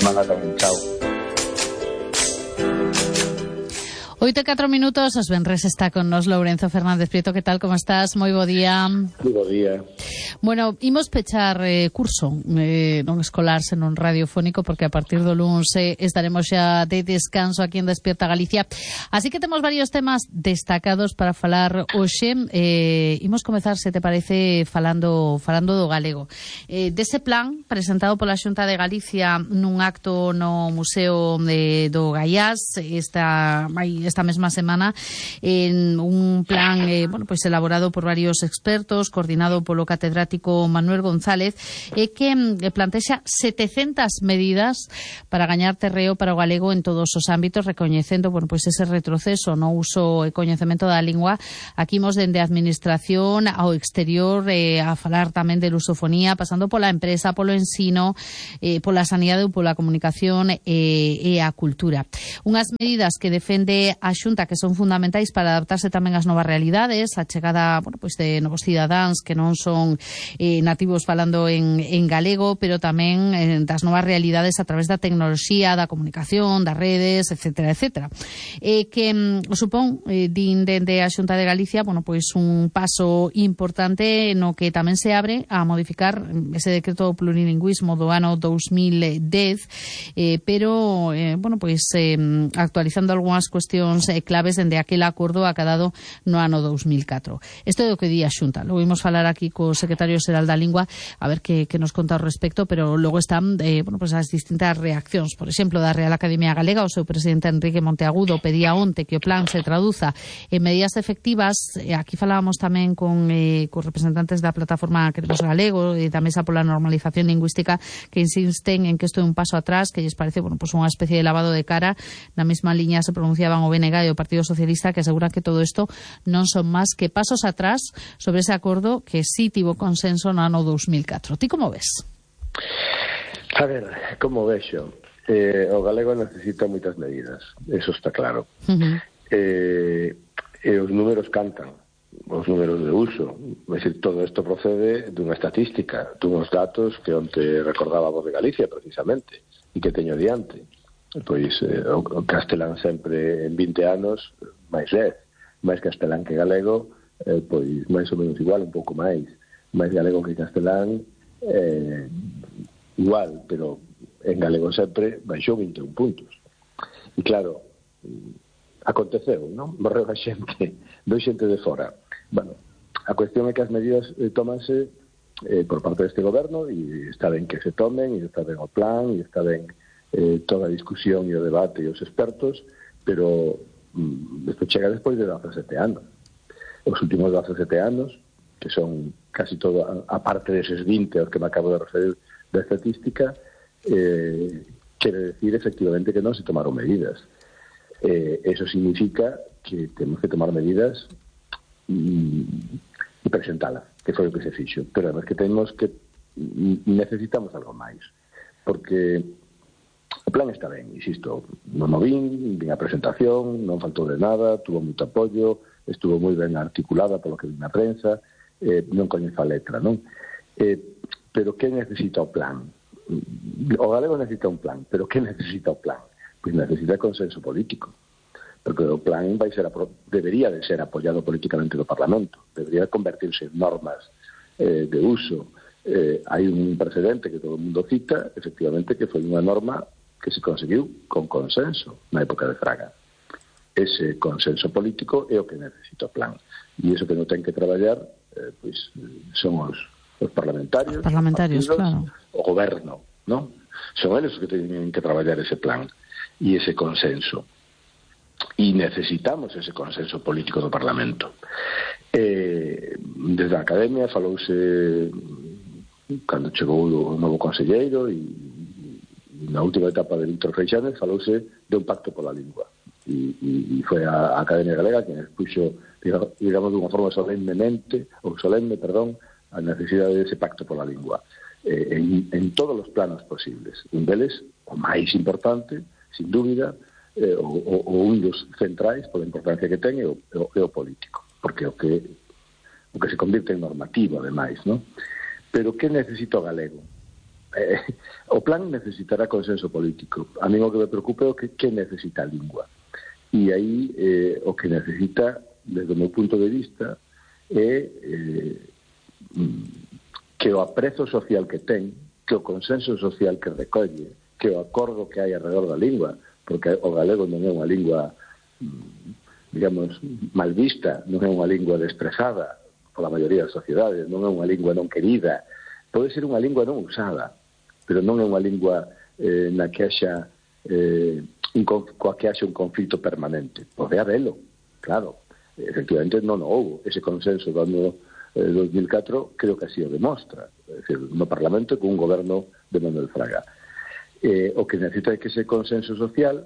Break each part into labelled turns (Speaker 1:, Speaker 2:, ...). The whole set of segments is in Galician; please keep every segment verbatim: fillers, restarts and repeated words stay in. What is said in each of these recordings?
Speaker 1: semana tamén. Chao.
Speaker 2: Oito e catro minutos, os venres está con nos Lourenzo Fernández Prieto. Que tal, como estás? Moi bo día.
Speaker 1: Moi bo día.
Speaker 2: Bueno, imos pechar eh, curso eh, non escolar, senón radiofónico, porque a partir do luns eh, estaremos xa de descanso aquí en Despierta Galicia. Así que temos varios temas destacados para falar hoxe. Eh, imos comezar, se te parece, falando falando do galego. Eh, dese plan presentado pola Xunta de Galicia nun acto no Museo de, do Gaiás esta, esta mesma semana, en un plan eh, bueno, pues elaborado por varios expertos, coordinado polo catedrático Manuel González, eh, que eh, plantexa setecentas medidas para gañar terreo para o galego en todos os ámbitos, recoñecendo, bueno, pues ese retroceso no uso e coñecemento da lingua. Aquí imos dende a administración ao exterior, eh, a falar tamén de lusofonía, pasando pola empresa, polo ensino, eh, pola sanidade ou pola comunicación eh, e a cultura. Unhas medidas que defende a Xunta que son fundamentais para adaptarse tamén ás novas realidades, a chegada, bueno, pues de novos cidadáns que non son eh, nativos falando en, en galego, pero tamén eh, das novas realidades a través da tecnoloxía, da comunicación, das redes, etcétera, etcétera. Eh, que mm, supón, eh, din dende a Xunta de Galicia, bueno, pois un paso importante no que tamén se abre a modificar ese decreto do plurilingüismo do ano dous mil dez, eh, pero, eh, bueno, pois eh, actualizando algunhas cuestións eh, claves dende aquel acordo acadado no ano dous mil catro. Isto é o que di a Xunta. Logo vimos falar aquí co secretario xeral da Lingua, a ver que, que nos conta ao respecto, pero logo están eh, bueno, pues as distintas reaccións. Por exemplo, da Real Academia Galega, o seu presidente Enrique Monteagudo pedía onte que o plan se traduza en medidas efectivas. Eh, aquí falábamos tamén con, eh, con representantes da plataforma Queremos Galego e da Mesa pola Normalización Lingüística, que insisten en que isto é un paso atrás, que lles parece, bueno, pues unha especie de lavado de cara. Na mesma liña se pronunciaban o B N G e o Partido Socialista, que aseguran que todo isto non son máis que pasos atrás sobre ese acordo que sí tivo consenso no ano dous mil catro. Ti como ves?
Speaker 1: A ver, como vexo, eh, o galego necesita moitas medidas, eso está claro. Uh-huh. eh, e os números cantan, os números de uso. É dicir, todo isto procede dunha estatística, dunhos datos que onte recordábamos de Galicia, precisamente, e que teño diante. Pois eh, o castelán sempre en vinte anos máis dez, máis castelán que galego, eh, pois máis ou menos igual, un pouco máis máis galego que castelán, eh, igual, pero en galego sempre baixou vinte e un puntos. E claro, aconteceu, non? Morreu a xente, doi xente de fora. Bueno, a cuestión é que as medidas eh, tómanse eh, por parte deste goberno, e está ben que se tomen, e está ben o plan, e está ben eh, toda a discusión e o debate e os expertos, pero mm, isto chega despois de dezasete anos. Os últimos dezasete anos, que son casi todo, a, a parte deses vinte aos que me acabo de referir da estatística, eh, quere decir efectivamente que non se tomaron medidas. Eh, eso significa que temos que tomar medidas mm, e presentalas, que foi o que se fixo. Pero además que temos que necesitamos algo máis, porque o plan está ben, insisto, non o vin, vin a presentación, non faltou de nada, tuvo moito apoio, estuvo moi ben articulada polo que vi na prensa, eh, non coñezo a letra, non? Eh, pero que necesita o plan? O galego necesita un plan, pero que necesita o plan? Pois necesita consenso político, porque o plan vai ser debería de ser apoiado políticamente do Parlamento, debería convertirse en normas eh, de uso. Eh, hai un precedente que todo o mundo cita, efectivamente, que foi unha norma que se conseguiu con consenso na época de Fraga. Ese consenso político é o que necesita o plan, e iso que non ten que traballar eh, pois, son os, os parlamentarios,
Speaker 2: os parlamentarios,
Speaker 1: os partidos,
Speaker 2: claro,
Speaker 1: o goberno, non? Son eles os que teñen que traballar ese plan e ese consenso, e necesitamos ese consenso político do Parlamento. Eh, desde a Academia falouse cando chegou o novo conselleiro, e na última etapa de Víctor Freixanes falouse de un pacto pola lingua, e, e, e foi a, a Academia Galega que expuxo, digamos, de unha forma solemnemente, ou solemne, perdón, a necesidade dese pacto pola lingua, eh, en, en todos os planos posibles. Un deles, o máis importante, sin dúbida, eh, o, o, o un dos centrais, pola importancia que ten, é o, o, o político, porque o que o que se convirte en normativo, ademais, non? Pero que necesita o galego? eh, o plan necesitará consenso político. A mí o que me preocupa é o que, que necesita a lingua. E aí eh, o que necesita, desde o meu punto de vista, é eh, que o aprezo social que ten, que o consenso social que recolle, que o acordo que hai alrededor da lingua, porque o galego non é unha lingua, digamos, mal vista, non é unha lingua desprezada pola maioría das sociedades, non é unha lingua non querida, pode ser unha lingua non usada, pero non é unha lingua eh, na que haxa eh, un, coa que haxa un conflito permanente. Pode habelo, claro, efectivamente non houve ese consenso do ano eh, dos mil catro, creo que así o demostra, é dicir, no Parlamento con un goberno de Manuel Fraga. Eh, o que necesita é que ese consenso social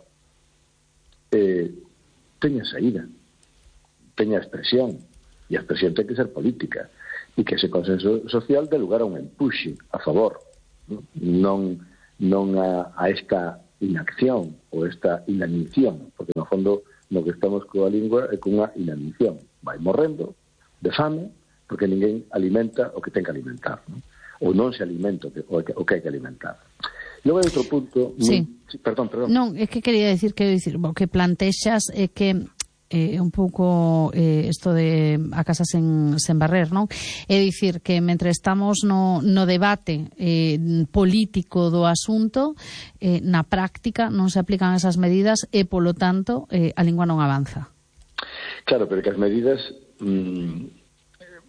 Speaker 1: eh, teña saída, teña expresión, e a expresión ten que ser política, e que ese consenso social dé lugar a un empuxe a favor, non, non a, a esta inacción ou esta inanición, porque no fondo no que estamos coa lingua é cunha inanición, vai morrendo de fame porque ninguén alimenta o que ten que alimentar, non? Ou non se alimenta o que, o que hai que alimentar. Logo hai outro punto...
Speaker 2: Sí.
Speaker 1: Muy... sí. Perdón, perdón.
Speaker 2: Non, é que quería decir que decir, o que plantexas é que é eh, un pouco eh, isto de a casa sen, sen barrer, non? É dicir que mentre estamos no, no debate eh, político do asunto, eh, na práctica non se aplican esas medidas e, polo tanto, eh, a lingua non avanza.
Speaker 1: Claro, pero que as medidas mmm,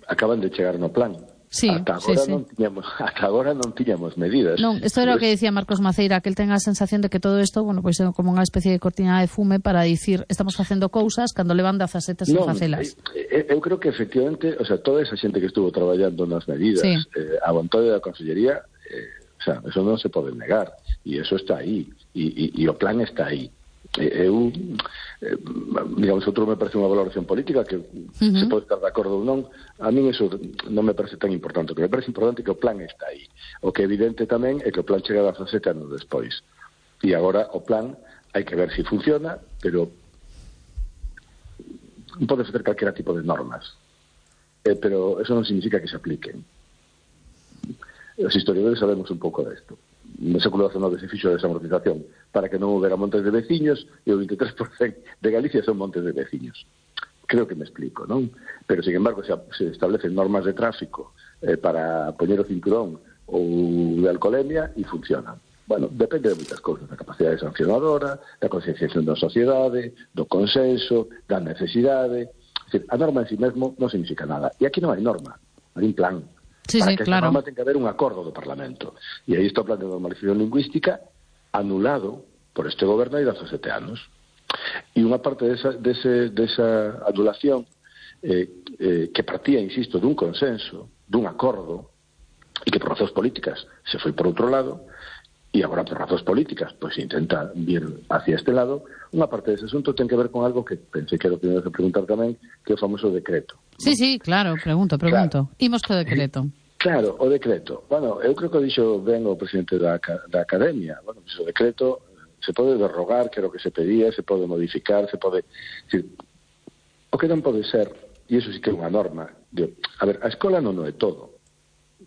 Speaker 1: acaban de chegar no plan.
Speaker 2: Sí,
Speaker 1: ata agora
Speaker 2: sí, sí.
Speaker 1: non tiñamos, ata agora non tiñamos medidas.
Speaker 2: Non, isto era o que decía Marcos Maceira, que el ten a sensación de que todo isto, bueno, pois é como unha especie de cortina de fume para dicir, estamos facendo cousas cando levan dezasete sen facelas.
Speaker 1: Eu creo que efectivamente, o sea, toda esa xente que estuvo traballando nas medidas, sí. eh, a vontade da Consellería, eh, o sea, eso non se pode negar, e eso está aí, e, e, e o plan está aí. Eu, eh, digamos, outro me parece unha valoración política que uh-huh. se pode estar de acordo ou non. A mí eso non me parece tan importante. O que me parece importante é que o plan está aí. O que é evidente tamén é que o plan chega dezasete anos despois. E agora o plan hai que ver se si funciona, pero non pode facer calquera tipo de normas. Eh, pero eso non significa que se apliquen. Os historiadores sabemos un pouco desto. No século dezenove se fixo a desamortización para que non houbera montes de veciños e o vinte e tres por cento de Galicia son montes de veciños. Creo que me explico, non? Pero, sin embargo, se, se establecen normas de tráfico eh, para poñer o cinturón ou de alcoholemia e funcionan. Bueno, depende de moitas cousas, da capacidade sancionadora, da concienciación da sociedade, do consenso, da necesidade. Es decir, a norma en si mesmo non significa nada. E aquí non hai norma, hai un plan.
Speaker 2: Sí,
Speaker 1: para
Speaker 2: sí,
Speaker 1: que
Speaker 2: claro.
Speaker 1: esa norma ten que haber un acordo do Parlamento. E aí está o plan de normalización lingüística anulado por este goberno hai dezasete anos. E unha parte desa, dese, desa anulación eh, eh, que partía, insisto, dun consenso, dun acordo, e que por razóns políticas se foi por outro lado, e agora por razóns políticas pois se intenta vir hacia este lado, unha parte dese asunto ten que ver con algo que pensei que era o que me ibas a preguntar tamén, que é o famoso decreto.
Speaker 2: Sí, ¿no? Sí, claro, pregunto, pregunto. Claro. Imos co decreto.
Speaker 1: Claro, o decreto. Bueno, eu creo que o dixo ben o presidente da, da Academia. Bueno, pues o decreto se pode derrogar, que era o que se pedía, se pode modificar, se pode... Decir, o que non pode ser, e iso sí que é unha norma, de, a ver, a escola non o é todo.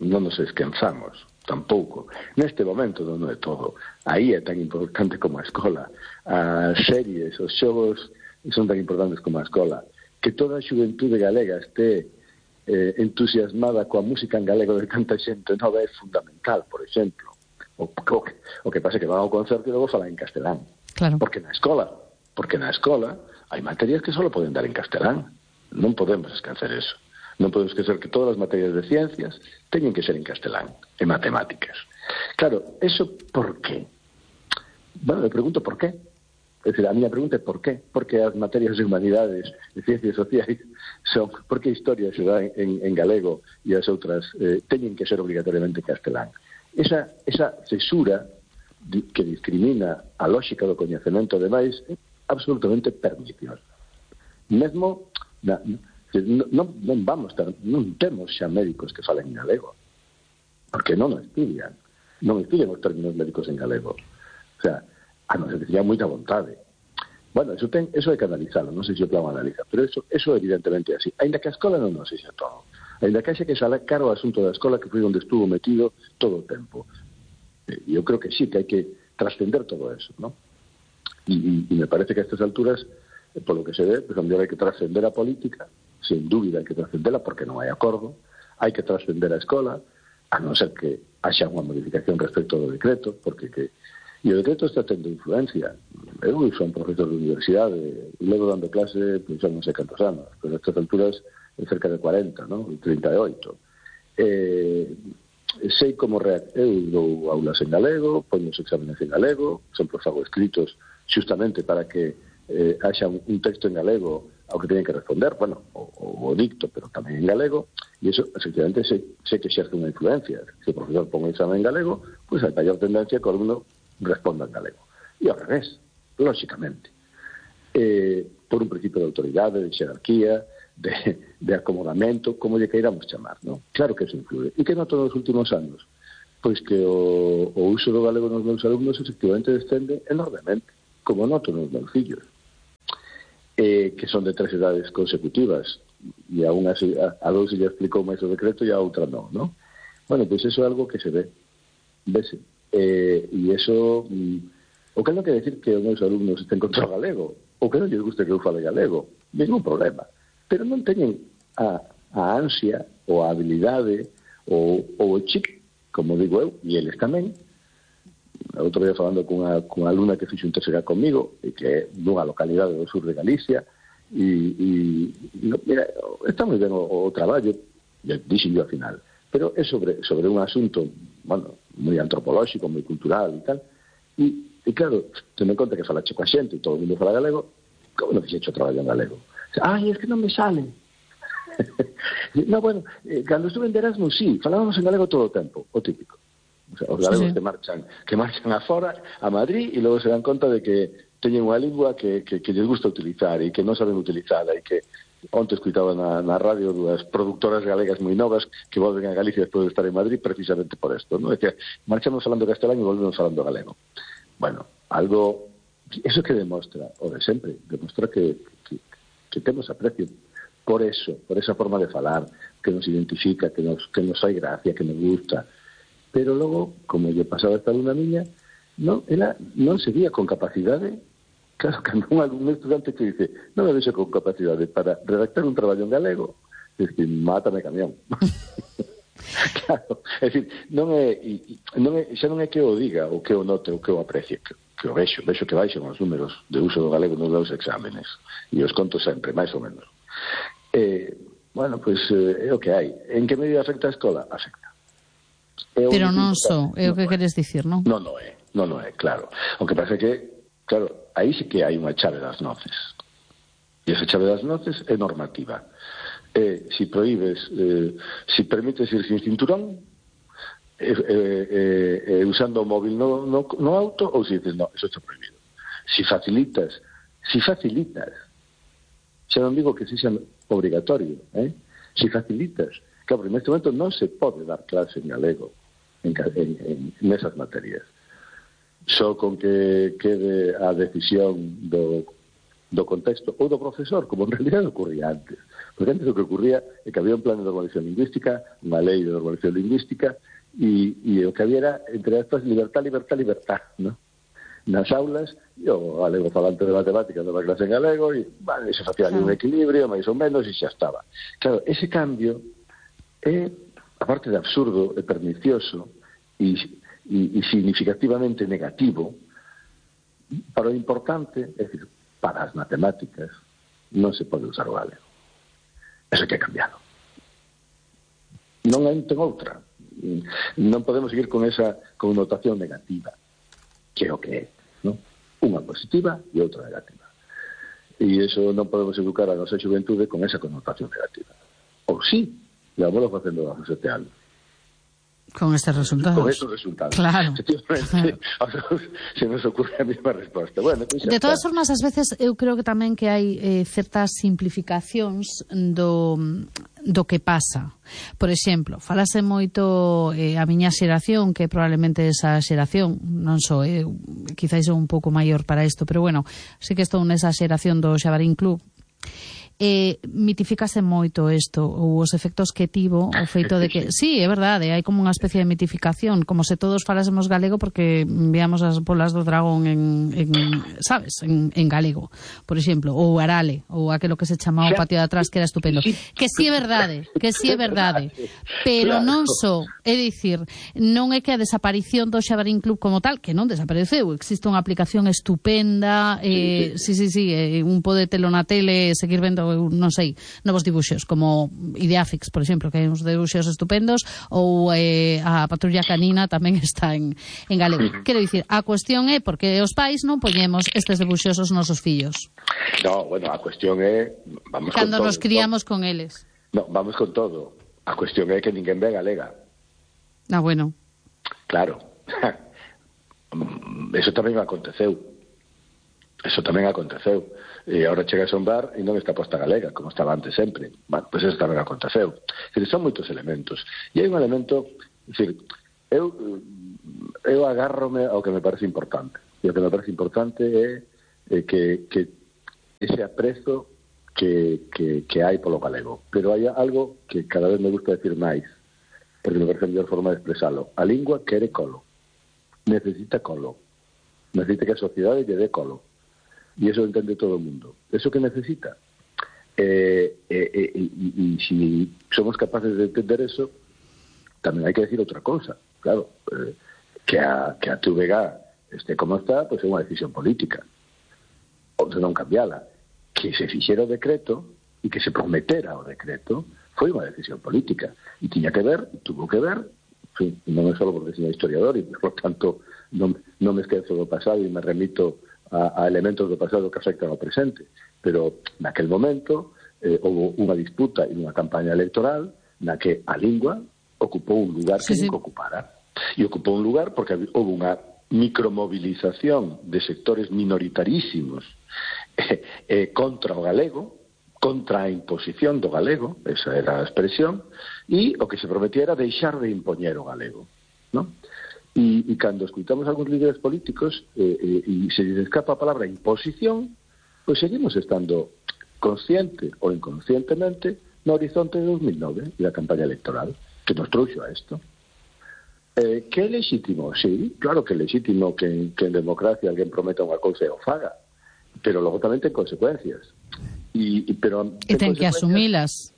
Speaker 1: Non nos esquenzamos, tampouco. Neste momento non o é todo. Aí é tan importante como a escola. As series, os xogos son tan importantes como a escola. Que toda a xuventude galega este eh, entusiasmada coa música en galego de tanta xente nova é fundamental, por exemplo. O, o, que, o que pasa é que van ao concerto e logo falan en castelán.
Speaker 2: Claro.
Speaker 1: Porque na escola, porque na escola hai materias que só poden dar en castelán. Non podemos esquecer eso. Non podemos esquecer que todas as materias de ciencias teñen que ser en castelán, en matemáticas. Claro, eso por qué? Bueno, me pregunto por qué. É dicir, a miña pregunta é por qué? Porque as materias de humanidades, de ciencias sociais, son, por que a historia se dá en, en galego e as outras eh, teñen que ser obrigatoriamente castelán? Esa, esa cesura que discrimina a lógica do coñecemento demais é absolutamente perniciosa. Mesmo, na, non, non vamos ter, non temos xa médicos que falen en galego, porque non o estudian, non estudian os términos médicos en galego. O sea, a non ser que teña moita vontade. Bueno, eso, ten, eso hai que analizarlo, non sei se o plan analiza, pero eso, eso evidentemente é así. Ainda que a escola non nos sexa todo. Ainda que haxa que sacar o asunto da escola, que foi onde estuvo metido todo o tempo. E eu creo que sí, que hai que trascender todo eso, ¿no? E, e me parece que a estas alturas, por lo que se ve, pues, a mellor hai que trascender a política, sin dúbida hai que trascendela porque non hai acordo, hai que trascender a escola, a non ser que haxa unha modificación respecto do decreto, porque que e o decreto está tendo influencia. Eu son profesor de universidade e levo dando clase, pois, non sei cantos anos, pero a estas alturas é cerca de cuarenta, non? trinta e oito. Eh, sei como reac... eu dou aulas en galego, poño os exámenes en galego, sempre fago escritos justamente para que eh, haxa un, un texto en galego ao que teñen que responder, bueno, o, o dicto, pero tamén en galego, e iso, efectivamente, sei, sei que exerce unha influencia. Se o profesor pon un examen en galego, pois hai maior tendencia que o alumno responda en galego. E ao revés, lóxicamente. Eh, por un principio de autoridade, de xerarquía, de, de acomodamento, como lle queiramos chamar, ¿no? Claro que eso influye. E que noto nos últimos anos? Pois que o, o uso do galego nos meus alumnos efectivamente descende enormemente, como noto nos meus fillos, eh, que son de tres edades consecutivas, e a unha a, a dous se lle explicou máis o decreto e a outra non, ¿no? Bueno, pois eso é algo que se ve, vese. Eh, e iso mm, o que non quer decir que os meus alumnos estén contra o galego ou que non lles guste que eu fale galego, ningún problema, pero non teñen a, a ansia ou a habilidade ou, ou o chip, como digo eu, e eles tamén. Outro día falando cunha, cunha alumna que fixo un terceira comigo e que é dunha localidade do sur de Galicia e, e, e mira, está moi ben o, o traballo, dixen yo ao final, pero é sobre, sobre un asunto, bueno, moi antropolóxico, moi cultural e tal, e, e claro, ten en conta que falache coa xente e todo o mundo fala galego, como non fixecho traballo en galego? Ai, es que non me sale. No, bueno, eh, cando estuve en Erasmus, sí, falábamos en galego todo o tempo, o típico. O sea, os galegos sí, sí. que marchan que marchan afora, a Madrid, e logo se dan conta de que teñen unha lingua que, que, que lles gusta utilizar e que non saben utilizala e que onte escuitaba na, na radio dúas productoras galegas moi novas que volven a Galicia despois de estar en Madrid precisamente por isto, ¿no? É que marchamos falando castelán e volvemos falando galego. Bueno, algo, eso que demostra, o de sempre, demostra que, que, que temos aprecio por eso, por esa forma de falar, que nos identifica, que nos, que nos hai gracia, que nos gusta. Pero logo, como lle pasaba esta alumna miña, non, ela non se vía con capacidade. Claro, cando un, un estudante que dice non me vexo con capacidade para redactar un traballo en galego, dice, mátame camión. Claro, é dicir, non é, non é, xa non é que o diga, ou que o note, ou que o aprecie, que, que o vexo, vexo que baixan os números de uso do galego nos meus exámenes, e os conto sempre, máis ou menos. Eh, bueno, pois pues, é o que hai. En que medida afecta a escola? Afecta.
Speaker 2: Pero non só, é o que queres dicir, non?
Speaker 1: Non, non é, non, non é, claro. O que parece que, claro, aí sí que hai unha chave das noces. E esa chave das noces é normativa. Eh, si prohíbes, eh, si permites ir sin cinturón, eh, eh, eh, usando o móvil no, no, no auto, ou si dices, no, eso está prohibido. Si facilitas, si facilitas, xa non digo que sexa obrigatorio, eh? Si facilitas, claro, en este momento non se pode dar clase en galego en, en, en nesas materias. Só con que quede a decisión do, do contexto ou do profesor, como en realidad ocurría antes. Porque antes o que ocurría é que había un plan de normalización lingüística, unha lei de normalización lingüística, e, e o que había era, entre estas, libertad, libertad, libertad, ¿no? Nas aulas, e o galego falante de matemáticas daba clase en galego, e, vale, se facía ali un equilibrio, máis ou menos, e xa estaba. Claro, ese cambio é, aparte de absurdo, é pernicioso, e E, e significativamente negativo, para o importante, é dicir, para as matemáticas, non se pode usar o galego. Eso que é cambiado. Non hai ten outra. Non podemos seguir con esa connotación negativa, que é o que é, non? Unha positiva e outra negativa. E iso non podemos educar a nosa xuventude con esa connotación negativa. Ou sí, levámoslo facendo a sete anos.
Speaker 2: Con estes resultados.
Speaker 1: Con estes resultados.
Speaker 2: Claro.
Speaker 1: claro. Se nos ocurre a mesma resposta. Bueno, pues
Speaker 2: de todas está. formas, ás veces, eu creo que tamén que hai eh, certas simplificacións do, do que pasa. Por exemplo, falase moito eh, a miña xeración, que probablemente esa xeración, non só, eh, quizáis un pouco maior para isto, pero bueno, sí que estou nesa xeración do Xabarín Club. eh, mitifícase moito isto, ou os efectos que tivo, o feito de que, sí, é verdade, hai como unha especie de mitificación, como se todos falásemos galego porque veamos as bolas do dragón en, en sabes, en, en galego, por exemplo, ou arale, ou aquilo que se chamaba o patio de atrás, que era estupendo. Que sí é verdade, que sí é verdade, pero non só, é dicir, non é que a desaparición do Xabarín Club como tal, que non desapareceu, existe unha aplicación estupenda, eh, sí, sí, sí, eh, un pode telo na tele, seguir vendo, non sei, novos dibuxos, como Ideafix, por exemplo, que hai uns dibuxos estupendos, ou eh, a Patrulla Canina tamén está en, en galego. Quero dicir, a cuestión é porque os pais non poñemos estes dibuxos aos nosos fillos.
Speaker 1: No, bueno, a cuestión é... Vamos
Speaker 2: Cando
Speaker 1: con
Speaker 2: nos
Speaker 1: todo,
Speaker 2: criamos
Speaker 1: no?
Speaker 2: con eles.
Speaker 1: No, vamos con todo. A cuestión é que ninguén ve galega.
Speaker 2: Ah, bueno.
Speaker 1: Claro. Eso tamén aconteceu. Eso tamén aconteceu. E agora chegas a un bar e non está posta galega, como estaba antes sempre. Bueno, pois pues eso tamén aconteceu. Decir, son moitos elementos. E hai un elemento... Decir, eu, eu agárrome ao que me parece importante. E o que me parece importante é, é que, que ese aprezo que, que, que hai polo galego. Pero hai algo que cada vez me gusta decir máis, porque me parece a mellor forma de expresalo. A lingua quere colo. Necesita colo. Necesita que a sociedade lle dé colo. E eso entende todo o mundo. Eso que necesita. Eh, eh, eh, e, e si somos capaces de entender eso, tamén hai que decir outra cousa. Claro, eh, que a, que a T V G este como está, pois é unha decisión política. Ou se non cambiala. Que se fixera o decreto e que se prometera o decreto foi unha decisión política. E tiña que ver, tuvo que ver, en fin, non é só porque seña historiador e, por tanto, non, non me esquezo do pasado e me remito a, a elementos do pasado que afectan ao presente. Pero, naquel momento, eh, houve unha disputa e unha campaña electoral na que a lingua ocupou un lugar que sí, nunca sí. ocupara. E ocupou un lugar porque houve unha micromovilización de sectores minoritarísimos eh, eh, contra o galego, contra a imposición do galego, esa era a expresión, e o que se prometía era deixar de impoñer o galego, non? E, e cando escuitamos algúns líderes políticos eh, eh, e se les escapa a palabra imposición, pois seguimos estando consciente ou inconscientemente no horizonte de dos mil nove e da campaña electoral que nos trouxo a isto. Eh, que é legítimo? Sí, claro que é legítimo que, que en democracia alguén prometa unha cousa e o faga, pero logo tamén ten consecuencias. E, e, pero,
Speaker 2: e ten, ten que asumilas.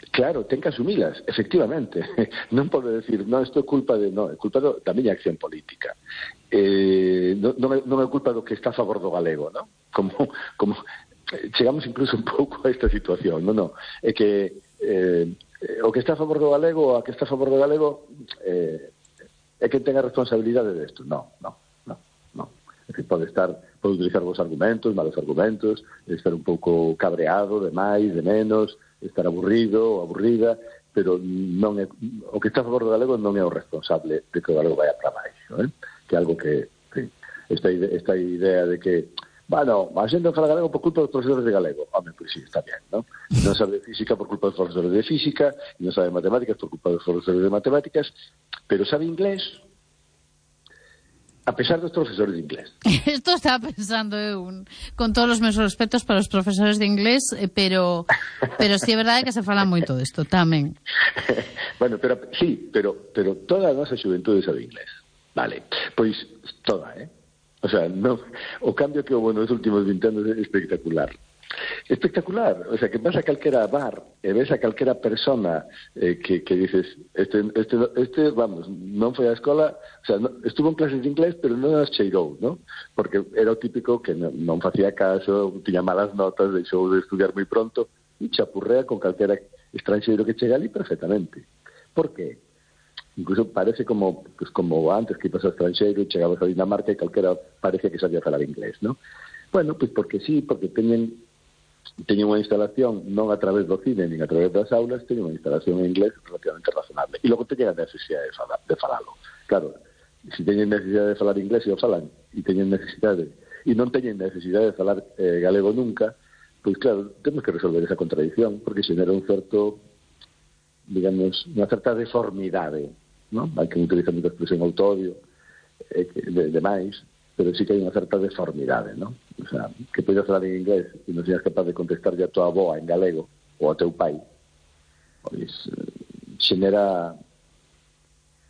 Speaker 1: Claro, ten que asumilas, efectivamente. Non pode decir, non, isto é culpa de... Non, é culpa do, da miña acción política. Eh, non, non, é, non é culpa do que está a favor do galego, non? Como, como chegamos incluso un pouco a esta situación, non, non. É que eh, o que está a favor do galego ou a que está a favor do galego eh, é que ten a responsabilidade desto. Non, non, non, non. É que pode estar, pode utilizar vos argumentos, malos argumentos, estar un pouco cabreado, de máis, de menos, estar aburrido ou aburrida, pero non é, o que está a favor do galego non é o responsable de que o galego vaya para baixo, eh? Que é algo que, sí, esta, idea, esta idea de que, bueno, a xente fala galego por culpa dos profesores de galego. Home, pois sí, está bien, non? Non sabe de física por culpa dos profesores de física, non sabe de matemáticas por culpa dos profesores de matemáticas, pero sabe inglés a pesar dos profesores de inglés.
Speaker 2: Esto estaba pensando eu, con todos os meus respetos para os profesores de inglés, pero pero si sí é verdade que se fala moito disto tamén.
Speaker 1: Bueno, pero sí, pero pero toda a nosa xuventude sabe inglés. Vale, pois toda, eh? O sea, no, o cambio que houve nos últimos vinte anos é espectacular. Espectacular, o sea, que vas a calquera bar e ves a calquera persona eh, que, que dices, este, este, este, vamos, non foi á escola, o sea, no, estuvo en clases de inglés, pero non as cheirou, ¿no? Porque era o típico que non, non facía caso, tiña malas notas, deixou de estudiar moi pronto, e chapurrea con calquera estranxeiro que chega ali perfectamente. Por qué? Incluso parece como, pues, como antes que ibas ao estranxeiro e chegabas a Dinamarca e calquera parece que sabía falar inglés, ¿no? Bueno, pues porque sí, porque teñen teñen unha instalación non a través do cine nin a través das aulas, teñen unha instalación en inglés relativamente razonable e logo teñen a necesidade de, falar, de falalo. Claro, se teñen necesidade de falar inglés e o falan e teñen necesidade e non teñen necesidade de falar eh, galego nunca, pois claro, temos que resolver esa contradición porque xenera un certo, digamos, unha certa deformidade, non? Hai que utilizar moita expresión autodio eh, de, de máis pero sí que hai unha certa deformidade, non? O sea, que podes falar en inglés e non seas capaz de contestar a tua avó en galego ou a teu pai, pois xenera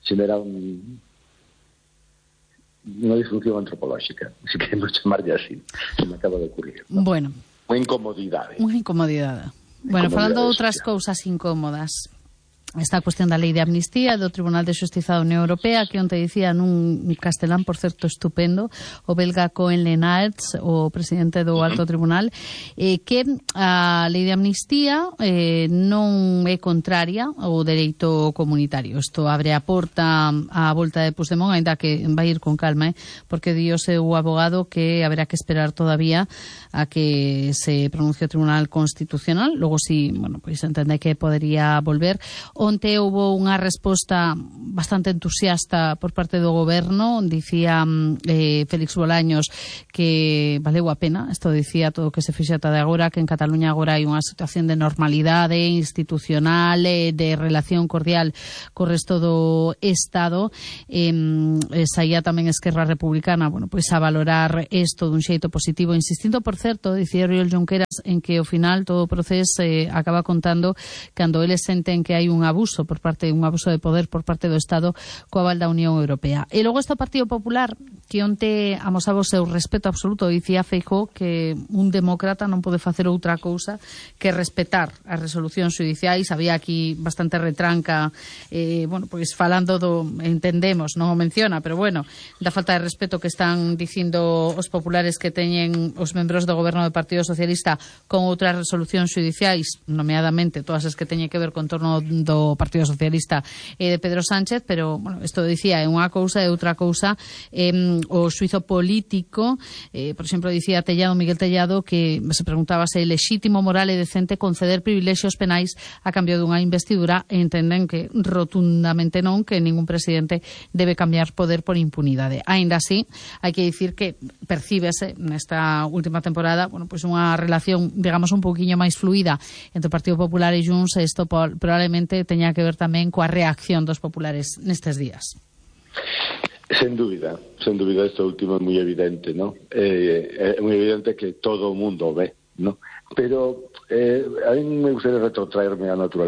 Speaker 1: xenera un unha disfunción antropolóxica, se queremos chamarlle así, se me acaba de ocurrir, ¿no?
Speaker 2: Bueno.
Speaker 1: Unha incomodidade.
Speaker 2: Unha incomodidade. Bueno, falando de outras cousas incómodas, esta cuestión da lei de amnistía do Tribunal de Xustiza da Unión Europea, que onte dicía nun castelán, por certo, estupendo, o belga Koen Lenaerts, o presidente do Alto Tribunal, eh, que a lei de amnistía eh, non é contraria ao dereito comunitario. Isto abre a porta á volta de Puigdemont, ainda que vai ir con calma, eh, porque di o seu abogado que haberá que esperar todavía a que se pronuncie o Tribunal Constitucional. Logo, si, bueno, pois entende que podería volver. Onte houve unha resposta bastante entusiasta por parte do goberno. Dicía eh, Félix Bolaños que valeu a pena, isto dicía todo o que se fixe ata de agora, que en Cataluña agora hai unha situación de normalidade institucional, eh, de relación cordial co resto do Estado. Eh, saía tamén Esquerra Republicana, bueno, pois a valorar isto dun xeito positivo, insistindo, por certo, dicía Oriol Junqueras, en que ao final todo o proceso eh, acaba contando cando eles senten que hai un abuso por parte un abuso de poder por parte do Estado coa aval da Unión Europea. E logo este Partido Popular, que onte amosaba o seu respeto absoluto, dicía Feijóo que un demócrata non pode facer outra cousa que respetar as resolucións xudiciais. Había aquí bastante retranca, eh, bueno, pois falando do, entendemos, non o menciona, pero bueno, da falta de respeto que están dicindo os populares que teñen os membros do goberno do Partido Socialista con outras resolucións xudiciais, nomeadamente todas as que teñen que ver con torno do Partido Socialista e de Pedro Sánchez, pero, bueno, isto dicía, é unha cousa e outra cousa eh, o xuizo político. Eh, por exemplo, dicía Tellado, Miguel Tellado, que se preguntaba se é lexítimo, moral e decente conceder privilexios penais a cambio dunha investidura, e entenden que rotundamente non, que ningún presidente debe cambiar poder por impunidade. Ainda así, hai que dicir que percíbese nesta última temporada, bueno, pois unha relación, digamos, un pouquiño máis fluida entre o Partido Popular e Junts, e isto probablemente teña que ver tamén coa reacción dos populares nestes días.
Speaker 1: Sen dúbida, sen dúbida, isto último é moi evidente, ¿no? Eh, é moi evidente que todo o mundo ve, ¿no? Pero eh, a mí me gustaría retrotraerme á naturaleza.